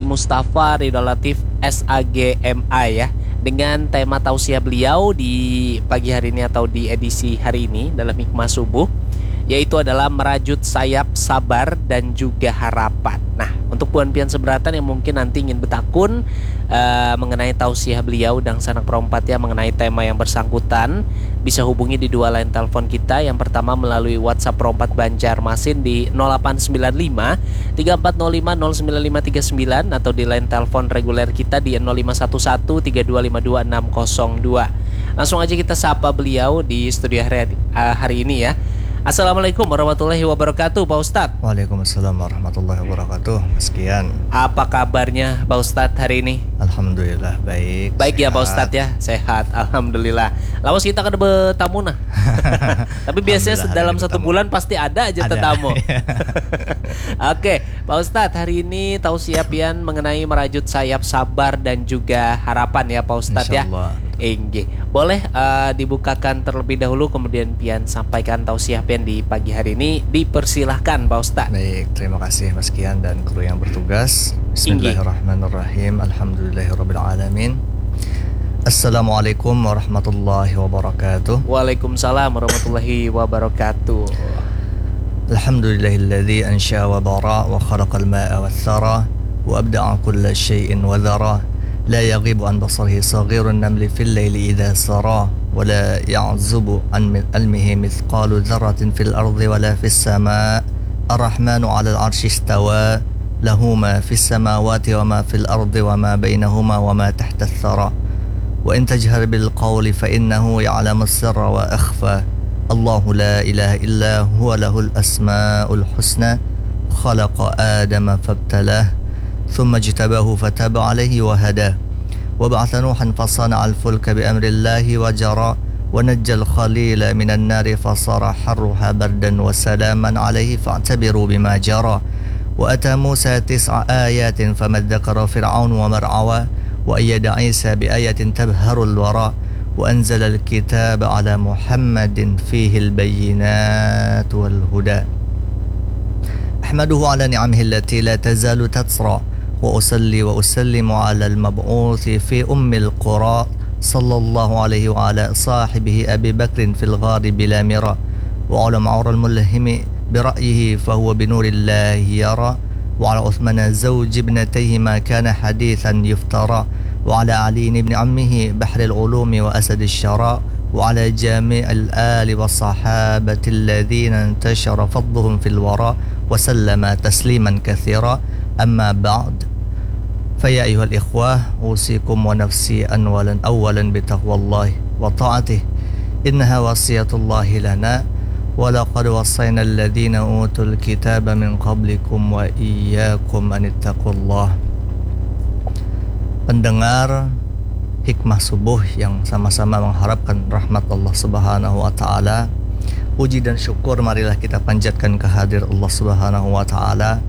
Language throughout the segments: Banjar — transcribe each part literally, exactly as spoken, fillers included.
Mustafa Ridho Latif S A G M A ya, dengan tema tausiah beliau di pagi hari ini atau di edisi hari ini dalam Hikmah Subuh, yaitu adalah merajut sayap sabar dan juga harapan. Nah, untuk buhan pian seberatan yang mungkin nanti ingin betakun uh, mengenai tausiah beliau dan sanak perompat ya, mengenai tema yang bersangkutan, bisa hubungi di dua line telepon kita. Yang pertama melalui WhatsApp Perompat Banjarmasin di nol delapan sembilan lima tiga empat nol lima nol sembilan lima tiga sembilan atau di line telepon reguler kita di nol lima satu satu tiga dua lima dua enam kosong dua. Langsung aja kita sapa beliau di studio hari, uh, hari ini ya. Assalamualaikum warahmatullahi wabarakatuh, Pak Ustadz. Waalaikumsalam warahmatullahi wabarakatuh, Mas Kian. Apa kabarnya, Pak Ustadz, hari ini? Alhamdulillah baik. Baik ya, Pak Sehat. Ustadz ya, sehat, alhamdulillah. Lawas kita kada bertamu nah. Tapi biasanya Alhamdulillah, dalam hari satu bertamu. Bulan pasti ada aja Ada. Tetamu. Oke, Pak Ustadz, hari ini tausiah pian mengenai merajut sayap sabar dan juga harapan ya, Pak Ustadz ya. Insyaallah. Inggih. Boleh uh, dibukakan terlebih dahulu, kemudian pian sampaikan tausiah pian di pagi hari ini. Dipersilahkan, Pak Ustadz. Baik, terima kasih Mas Kian dan kru yang bertugas. Bismillahirrahmanirrahim. Alhamdulillahirabbil alamin. Assalamualaikum warahmatullahi wabarakatuh. Waalaikumsalam warahmatullahi wabarakatuh. Alhamdulillahilladzi ansya wa bara wa khalaqal ma'a wa thara wa abda'a kulla syai'in wa dhara. La yaghibu an basarihi saghirun namli fil laili idza sara wa la ya'zubu an ilmihi mithqalu dzarratin fil ardi wa la fis sama. Ar-Rahmanu 'alal 'arsy istawa. Lahu ma fis samawati wa ma fil ardi wa ma bainahuma wa ma tahtas tsara. Wa in tajhar bil qawli fa innahu ya'lamus sirra wa akhfa. Allahu la ilaha illa huwa lahul asmaul husna. Khalaqa Adama fabtalah. Thumma ijtabahu fataba alaihi wa hada. Wa ba'atha Nuhan fasana'al fulka bi amrillahi wa jara. Wa najjal khalila minan nari fasara harruha bardan wa salaman alaihi fa'tabiru bima jara. Wa ata Musa tis'a ayatin famazzakara Fir'aun wa mar'awa. Wa ayyada Isa bi ayatin tabharul wara. Wa anzalal kitaba ala Muhammadin fihil bayyinat wal huda. Ahmaduhu ala ni'amihi allati la tazalu tatsra. Wa usalli wa usallimu ala al-mab'uthi fi ummil qura, sallallahu alaihi wa ala sahibihi Abi Bakrin fil ghari bila mira. Wa ala Umar al-mulhimi bi ra'yihi fa huwa bi nurillahi yara. Wa ala Uthmana zawji ibnatayhi ma kana hadithan yuftara. Wa ala Ali ibni ammihi bahril ulumi wa asadish syara. Wa ala jami'il ali wa sahabati alladhina intashara fadluhum fil wara. Wa sallama tasliman kathira. Amma ba'd. Fa ya ayyuhal ikhwah, usikum wa nafsi anwalan awwalan bi taqwallahi wa ta'atih. Innaha wasiyatullahi lana. Wa laqad wassayna alladhina utul kitaba min qablikum wa iyyakum an ittaqullah. Pendengar Hikmah Subuh yang sama-sama mengharapkan rahmat Allah Subhanahu wa taala. Puji dan syukur marilah kita panjatkan ke hadir Allah Subhanahu wa taala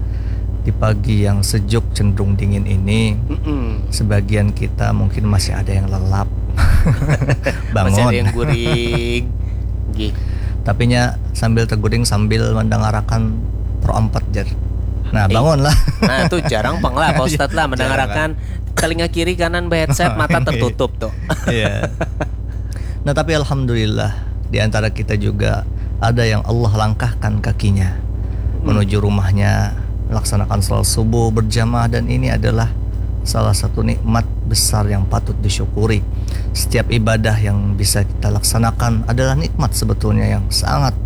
di pagi yang sejuk cenderung dingin ini. Mm-mm. Sebagian kita mungkin masih ada yang lelap. Masih ada Bangun. Yang guring. Gih. Tapinya sambil teguring sambil mendengarakan Pro empat, jar. Nah, Eh. Bangunlah. Nah, itu jarang pang lah, Pak Ustadz lah, Jarang. Mendengarakan telinga kiri kanan berheadset, mata tertutup tuh. Iya. Nah, tapi alhamdulillah, di antara kita juga ada yang Allah langkahkan kakinya menuju rumahnya, melaksanakan salat subuh berjamaah, dan ini adalah salah satu nikmat besar yang patut disyukuri. Setiap ibadah yang bisa kita laksanakan adalah nikmat sebetulnya yang sangat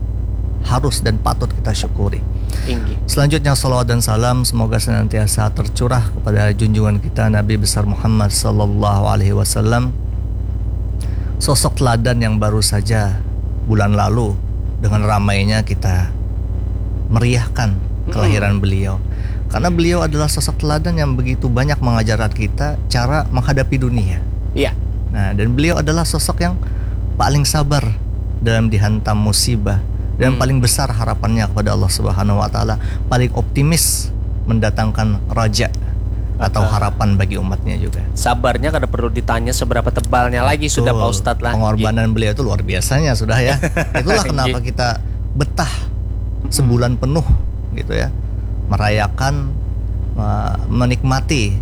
harus dan patut kita syukuri. Inggih. Selanjutnya, salawat dan salam semoga senantiasa tercurah kepada junjungan kita, Nabi besar Muhammad sallallahu alaihi wasallam. Sosok teladan yang baru saja bulan lalu dengan ramainya kita meriahkan kelahiran beliau. Karena beliau adalah sosok teladan yang begitu banyak mengajarkan kita cara menghadapi dunia. Iya. Nah, dan beliau adalah sosok yang paling sabar dalam dihantam musibah dan Hmm. paling besar harapannya kepada Allah Subhanahu wa taala, paling optimis mendatangkan raja atau Ah. harapan bagi umatnya juga. Sabarnya kada perlu ditanya seberapa tebalnya lagi sudah, Betul. Pak Ustadz lah. Pengorbanan beliau itu luar biasanya sudah, ya. Itulah kenapa Iya. Kita betah sebulan penuh gitu, ya, merayakan, me- menikmati